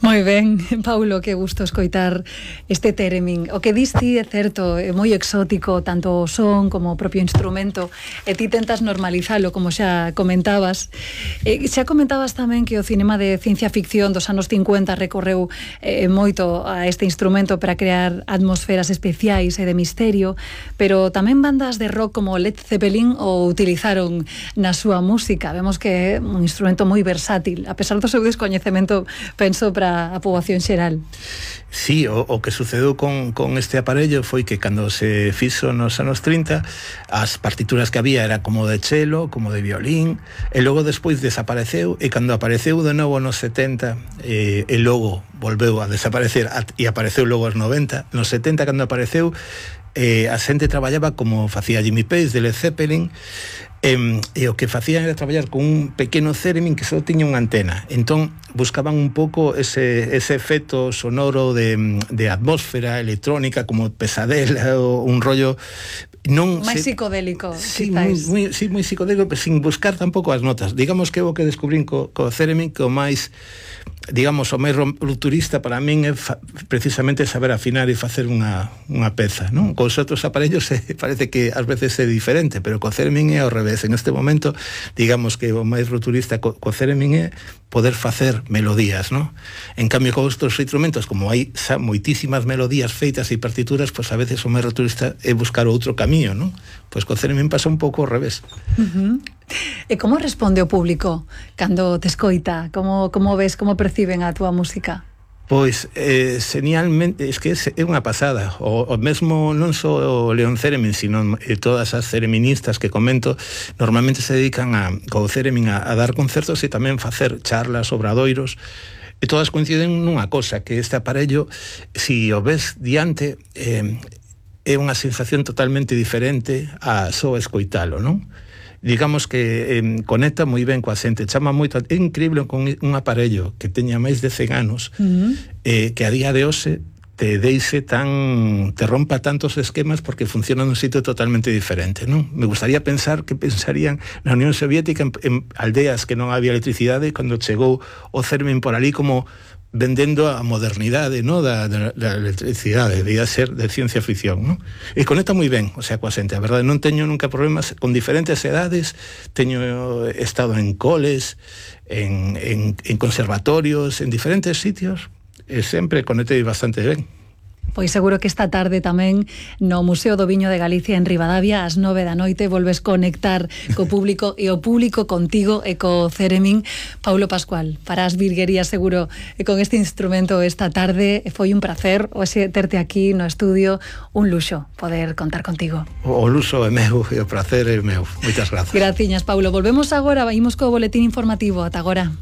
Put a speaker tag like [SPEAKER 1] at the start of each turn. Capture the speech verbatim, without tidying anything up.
[SPEAKER 1] Moi ben, Paulo, que gusto escoitar este theremin. O que dis ti é certo, é moi exótico, tanto o son como o propio instrumento, e ti tentas normalizalo, como xa comentabas. E xa comentabas tamén que o cinema de ciencia ficción dos anos cincuenta recorreu eh, moito a este instrumento para crear atmosferas especiais e de misterio, pero tamén bandas de rock como Led Zeppelin o utilizaron na súa música. Vemos que é un instrumento moi versátil, a pesar do seu descoñecemento, penso, para a poboación xeral.
[SPEAKER 2] Sí, o, o que sucedeu con, con este aparello foi que cando se fixo nos anos trinta, as partituras que había era como de cello, como de violín, e logo despois desapareceu, e cando apareceu de novo nos setenta, eh, e logo volveu a desaparecer, e apareceu logo aos noventa, nos setenta cando apareceu, eh, a xente traballaba como facía Jimmy Page de Led Zeppelin, e, e o que facían era traballar con un pequeno theremin que só tiña unha antena. Entón buscaban un pouco ese, ese efecto sonoro de, de atmósfera electrónica, como pesadela, ou un rollo non
[SPEAKER 1] máis
[SPEAKER 2] se,
[SPEAKER 1] psicodélico,
[SPEAKER 2] sí, moi, moi, sí, moi psicodélico, pero sin buscar tampouco as notas. Digamos que o que descubrín co, co theremin, que o máis, digamos, o máis rupturista para min é fa, precisamente saber afinar e facer unha, unha peza, non? Cos outros aparellos eh, parece que ás veces é diferente, pero co theremin é ao revés. En este momento, digamos que o máis rupturista co, co theremin é poder facer melodías, non? En cambio, con outros instrumentos, como hai xa moitísimas melodías feitas e partituras, pois a veces o máis rupturista é buscar outro camiño, non? Pois co theremin pasa un pouco ao revés.
[SPEAKER 1] Uh-huh. E como responde o público cando te escoita? Como, como ves, como perciben a túa música?
[SPEAKER 2] Pois, eh, genialmente, es que é unha pasada. O, o mesmo non só o León Theremin, sino eh, todas as thereministas que comento, normalmente se dedican a, co theremin a, a dar concertos e tamén facer charlas, obradoiros, e todas coinciden nunha cosa, que este aparello, si o ves diante, eh, é unha sensación totalmente diferente a só escoitalo, non? Digamos que eh, conecta moi ben coa xente, chama moito, é increíble con un aparello que teña máis de cen anos, uh-huh. eh, que a día de hoxe te deixe tan, te rompa tantos esquemas porque funciona nun sitio totalmente diferente, non? Me gustaría pensar que pensarían na Unión Soviética en, en aldeas que non había electricidade, cando chegou o theremin por ali como vendendo a modernidade, no, da, da, da electricidade, debía ser de ciencia ficción, no? E conecta moi ben, o sea, coa xente, a verdade, non teño nunca problemas con diferentes edades, teño estado en coles, en, en, en conservatorios, en diferentes sitios, e sempre conectei bastante ben.
[SPEAKER 1] Pois seguro que esta tarde tamén no Museo do Viño de Galicia en Ribadavia ás nove da noite volves conectar co público e o público contigo e co theremin. Paulo Pascual, farás virguería seguro con este instrumento esta tarde. Foi un placer hoxe terte aquí no estudio, un luxo poder contar contigo.
[SPEAKER 2] O luxo é meu e o placer é meu. Moitas grazas.
[SPEAKER 1] Graciñas, Paulo. Volvemos agora, vaimos co boletín informativo. Ata agora.